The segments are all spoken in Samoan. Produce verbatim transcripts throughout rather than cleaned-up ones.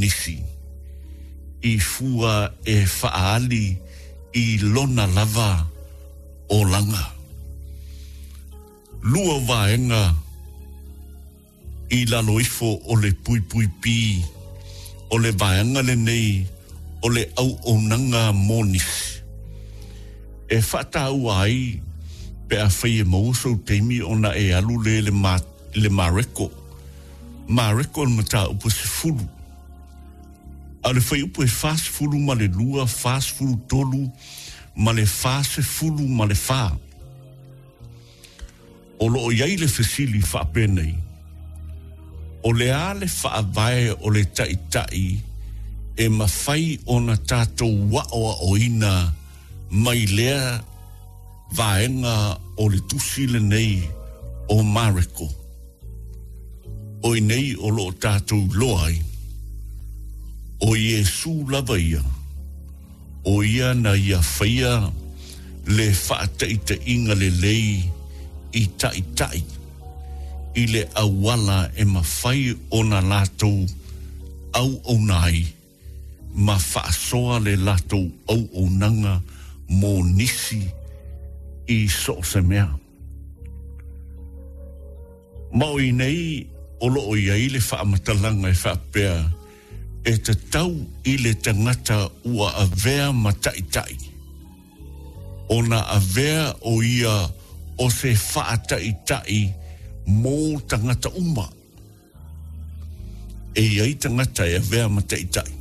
nisi i fua e fa'aali i lona lava olaga. Lua vaega i lalo ifo o le puipuipī o le vaega lenei o le auaunaga mo nisi e fa'atāua ai pe afai e maua sou taimi ona e alu lē le ma le Mareko Mareko o le mataupu sefulu a o le fuaiupu e fasefulu ma le lua fasefulu tolu ma le fasefulu ma le fā o loo iai le fesili faapenei o le a le faavae o le taʻitaʻi e mafai ona tatou aʻoaʻoina mai lea vaega o le tusi lenei o Mareko o i nei o loo tatou iloa ai o Iesu lava ia o ia na ia faia le faataʻitaʻiga lelei i taʻitaʻi i le auala e mafai ona latou auauna ai ma faasoa le latou auaunaga mo nisi i so o se mea. Ma o i nei o loo iai le faamatalaga e faapea e tatau i le tagata ua avea ma taʻitaʻi ona avea o ia o se faataʻitaʻi mo tagata uma. E iai tagata e avea ma taʻitaʻi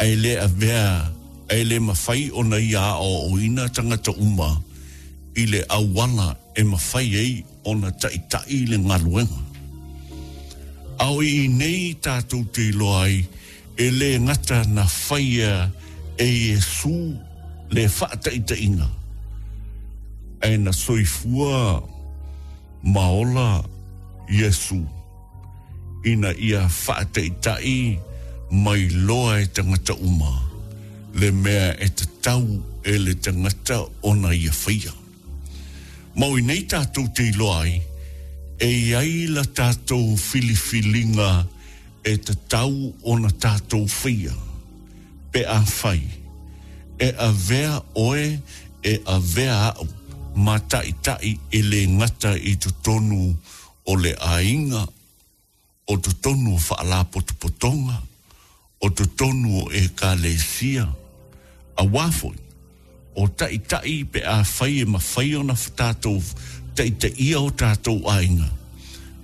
ae lē avea ae lē mafai ona ia aʻoaʻoina tagata uma i le auala e mafai ai ona taʻitaʻi le galuega. A o i nei tatou te iloa ai e lē gata na faia e Iesu le faataʻitaʻiga ae na soifua ma ola Iesu ina ia faataʻitaʻi mai loa e tagata uma le mea e tatau e le tagata ona ia faia. Ma o i nei tatou te iloa ai e iai la tatou filifiliga e tatau ona tatou faia pe afai e avea oe e avea aʻu ma taʻitaʻi e lē gata i totonu o le aiga o totonu o faalapotopotoga o totonu o ekalesia auā foi o taʻitaʻi pe afai e mafai ona tatou taʻitaʻia o tatou aiga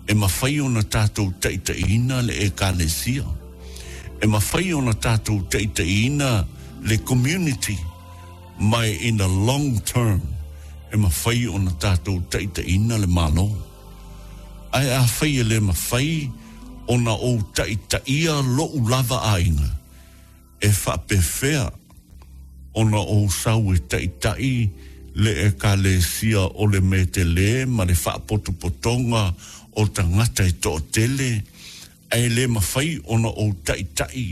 e mafai ona tatou taʻitaʻiina le ekalesia e mafai ona tatou taʻitaʻiina le community mai in the long term e mafai ona tatou taʻitaʻiina le Malo ae afai e lē mafai ona ou taʻitaʻia loʻu lava aiga e faapefea ona ou sau e taʻitaʻi le ekalesia o le metelē ma le faapotopotoga o tagata e toʻatele ae lē mafai ona ou taʻitaʻi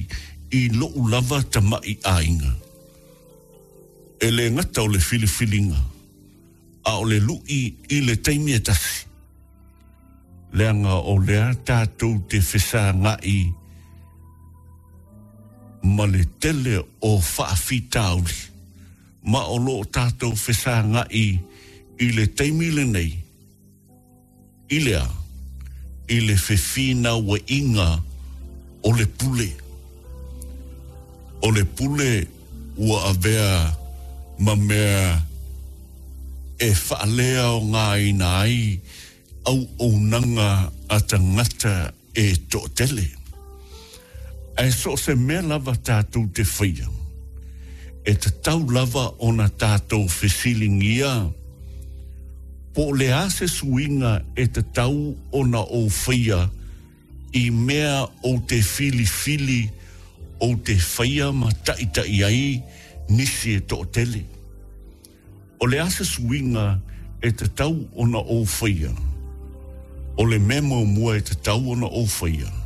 i loʻu lava tamaʻi aiga e lē gata o le filifiliga a o le luʻi i le taimi e tasi leaga o lea tatou te fesagaʻi ma le tele o faafitauli ma o loo tatou fesagaʻi i le taimi lenei i lea i le fefinauaiga o le pule o le pule ua avea ma mea e faaleaogaina ai auaunaga a tagata e toʻatele ae so o se mea lava tatou te faia e tatau lava ona tatou fesiligia po o le a se suiga e tatau ona ou faia i mea ou te filifili ou te faia ma taʻitaʻi ai nisi e toʻatele o le a se suiga e tatau ona ou faia o le mea muamua e tatau ona ou faia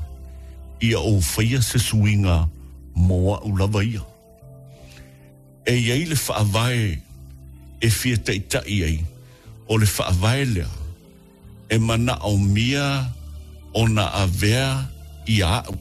ia ou faia se suiga mo aʻu lava ia e iai le faavae e fia taʻitaʻi ai o le faavae lea e manaʻomia ona avea ia aʻu